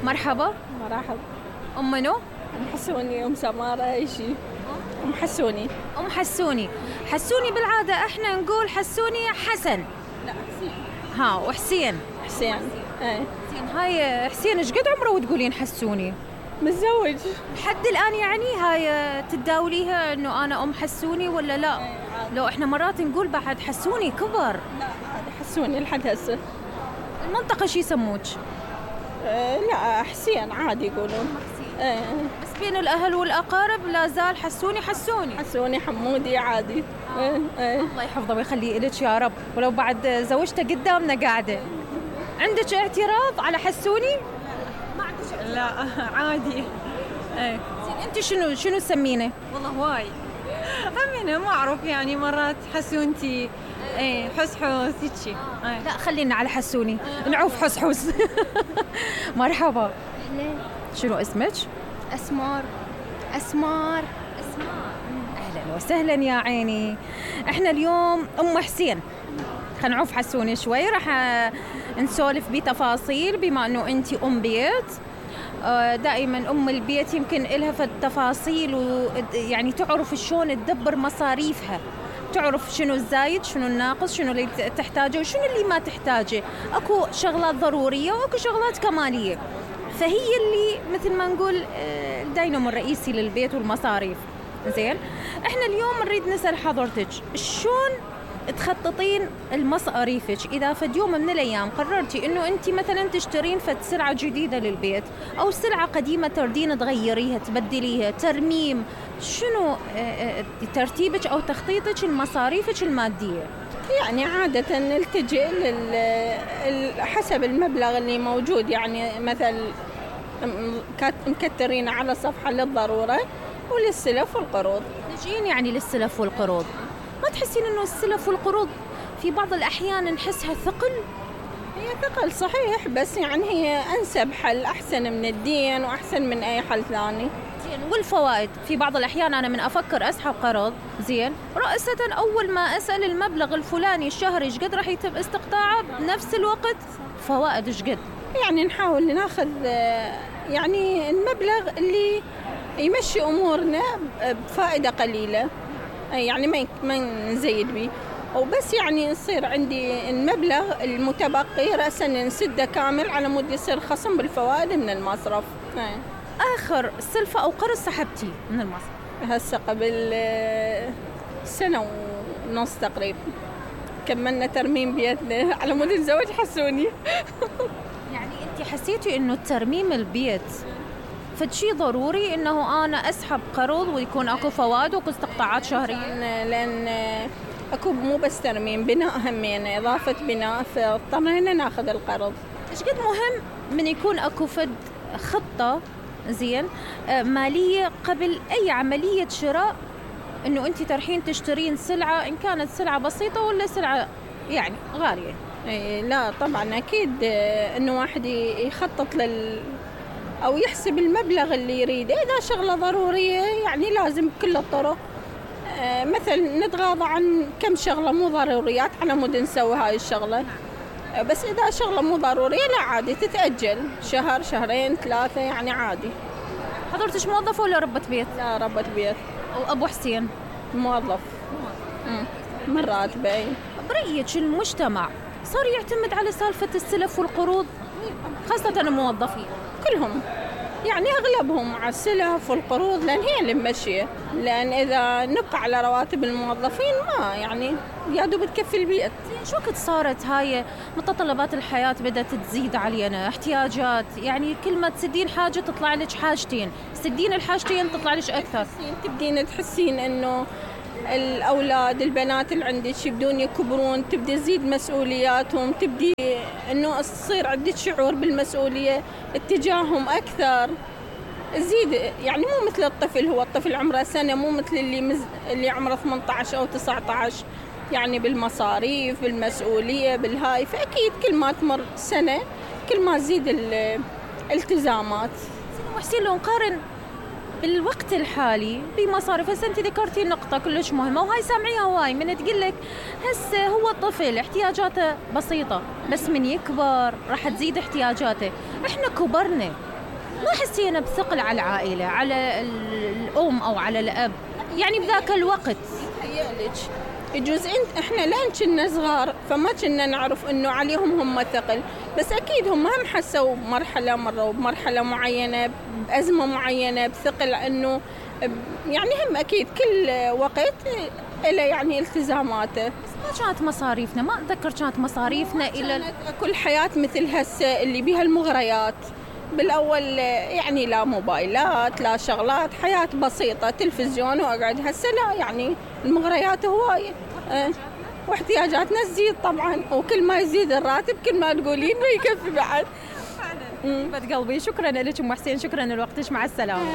مرحبا. مرحبا. أم منو؟ أم حسوني، أم سمارة، أي شيء. أم حسوني. أم حسوني. حسوني بالعادة إحنا نقول حسوني حسن. لا حسين. ها وحسين. حسين. إيه. زين هاي حسين إيش قد عمره وتقولين حسوني؟ متزوج. لحد الآن يعني هاي تداوليها إنه أنا أم حسوني ولا لا؟ لو إحنا مرات نقول بعد حسوني كبر. لا هذا حسوني لحد هسه. المنطقة شي يسموك؟ لا حسين عادي يقولون. بس بين الأهل والأقارب لا زال حسوني حسوني. حسوني حمودي عادي. الله يحفظه ويخليه إلك يا رب، ولو بعد زوجته قدامنا قاعدة. عندك اعتراض على حسوني؟ ما عندك؟ لا عادي. زين أنت شنو تسمينه؟ والله هواي همينه ما أعرف يعني مرات حسونتي حسحوس هيك. لا خلينا على حسوني نعوف حسحوس. مرحبا. شنو اسمك؟ أسمار. أهلا وسهلا يا عيني. احنا اليوم أم حسين، خلينا نعوف حسوني شوي، راح نسولف بتفاصيل بما أنه أنت أم بيت. دائما أم البيت يمكن إلها في التفاصيل ويعني تعرف شلون تدبر مصاريفها، تعرف شنو الزايد شنو الناقص، شنو اللي تحتاجه وشنو اللي ما تحتاجه. أكو شغلات ضرورية وأكو شغلات كمالية، فهي اللي مثل ما نقول الدينامو الرئيسي للبيت والمصاريف. زين احنا اليوم نريد نسأل حضرتك شلون تخططين المصاريفك إذا فد يوم من الأيام قررتي إنه أنت مثلا تشترين فد سلعة جديدة للبيت أو سلعة قديمة تردين تغيريها تبدليها ترميم، شنو ترتيبك أو تخطيطك لمصاريفك المادية؟ يعني عادة نلتجئ حسب المبلغ اللي موجود، يعني مثل مكترين على صفحة للضرورة وللسلف والقروض. نجين يعني للسلف والقروض، ما تحسين إنه السلف والقروض في بعض الأحيان نحسها ثقل؟ هي ثقل صحيح، بس يعني هي أنسب حل، أحسن من الدين وأحسن من أي حل ثاني. زين والفوائد في بعض الأحيان أنا من أفكر أسحب قرض زين رأسة أول ما أسأل المبلغ الفلاني الشهري إيش قد راح يتم استقطاعه بنفس الوقت فوائد إيش قد؟ يعني نحاول ناخذ يعني المبلغ اللي يمشي أمورنا بفائدة قليلة، يعني ما نزيد به وبس، يعني يصير عندي المبلغ المتبقي رأسا نسده كامل على مود يصير خصم بالفوائد من المصرف. آخر سلفة أو قرض سحبتي من المصرف؟ هسه قبل سنة ونص تقريبا كملنا ترميم بيتنا على مود الزواج حسوني. يعني أنت حسيتي إنه ترميم البيت فشي ضروري إنه أنا أسحب قرض ويكون أكو فوائد وأكو استقطاعات شهرية؟ لأن أكو مو بس ترميم، بناء همين إضافة بناء، فاضطرينا ناخذ القرض. إيش قد مهم من يكون أكو فد خطة زين مالية قبل أي عملية شراء، إنه أنت ترحين تشترين سلعة إن كانت سلعة بسيطة ولا سلعة يعني غالية؟ لا طبعا أكيد إنه واحد يخطط أو يحسب المبلغ اللي يريده. إذا شغلة ضرورية يعني لازم بكل الطرق، مثل نتغاضى عن كم شغلة مو ضروريات على مود نسوي هاي الشغلة. بس إذا شغلة مو ضرورية لا عادي تتأجل شهر شهرين ثلاثة، يعني عادي. حضرتش موظفة ولا ربة بيت؟ لا ربة بيت. وأبو حسين موظف من راتبه. برأيك المجتمع صار يعتمد على سالفة السلف والقروض خاصة الموظفين؟ كلهم يعني أغلبهم على السلف والقروض، لأن هي اللي ممشية. لأن إذا نبقى على رواتب الموظفين ما يعني يا دوب تكفي البيت. شو وقت صارت هاي متطلبات الحياة بدأت تزيد علينا احتياجات، يعني كل ما تسدين حاجة تطلع لك حاجتين، تسدين الحاجتين تطلع لك أكثر. تبدين تحسين إنه الأولاد البنات اللي عندك يبدون يكبرون، تبدي تزيد مسؤولياتهم، تبدي إنه تصير عندك شعور بالمسؤولية اتجاههم أكثر، تزيد يعني مو مثل الطفل، هو الطفل عمره سنة مو مثل اللي عمره 18 أو 19، يعني بالمصاريف بالمسؤولية بالهاي. فأكيد كل ما تمر سنة كل ما تزيد الالتزامات. وحسين لو نقارن بالوقت الحالي بمصاريف. هسه انت ذكرتي نقطة كلش مهمة وهاي سامعيها هواي من تقلك هسه هو طفل احتياجاته بسيطة، بس من يكبر راح تزيد احتياجاته. احنا كبرنا ما حسينا بثقل على العائلة، على الأم أو على الأب، يعني بذاك الوقت. يتهيألك يجوز احنا لان كنا صغار فما كنا نعرف انه عليهم هم ثقل، بس اكيد هم حسوا مرحلة مروا بمرحلة معينة، بأزمة معينة، بثقل، انه يعني هم اكيد كل وقت له يعني التزاماته. بس ما كانت مصاريفنا، ما اتذكر كانت مصاريفنا الى كل حياة مثل هسه اللي بيها المغريات. بالاول يعني لا موبايلات لا شغلات، حياة بسيطة، تلفزيون واقعد. هسه لا، يعني المغريات هواية واحتياجاتنا تزيد طبعا، وكل ما يزيد الراتب كل ما تقولين ما يكفي بعد. فعلا. قلبي شكرا لك ام حسين، شكرا لوقتك، مع السلامة.